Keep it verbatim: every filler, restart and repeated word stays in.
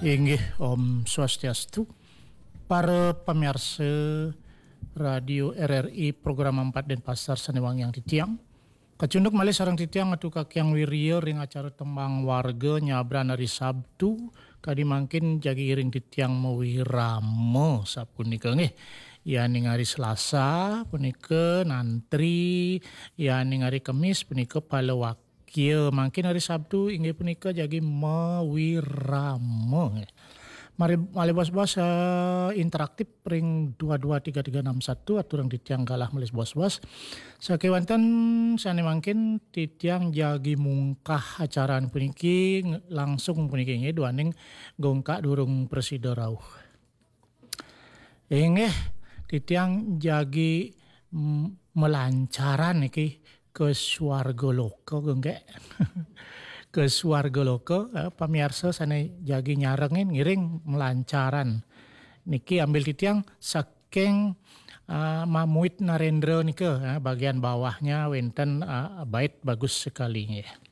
Inggih, Om Swastiastu. Para pamiarsa Radio R R I program empat Denpasar sane wangiang titiang. Kacunduk malih sareng titiang Atu Kakyang Wirya ring acara Tembang Warga nyabran hari Sabtu, kadi mangkin jagi iring titiang mawirama sapunika nggih. Yaning hari Selasa punika nantri, yaning hari Kemis punika palawak- Kia mangkin hari Sabtu inggih punika jagi mawirama. Mari malih bos-bos, eh, interaktif ring dua dua tiga tiga enam satu, aturang titiang galah malih bos-bos. Sakewanten sane mangkin titiang jagi mungkah acara puniki ng- langsung puniki nggih duaning gongkak durung prasida rauh. Inggih, titiang jagi, mm, malancaran niki ke swarga loka, Genggek. Ke swarga loka, eh, pamiarsa sane jagi nyarengin ngiring malancaran. Niki ambil titiang saking, eh, Mamuit Narendra nika, eh, bagian bawahnya wenten, eh, bait bagus sekali nggih.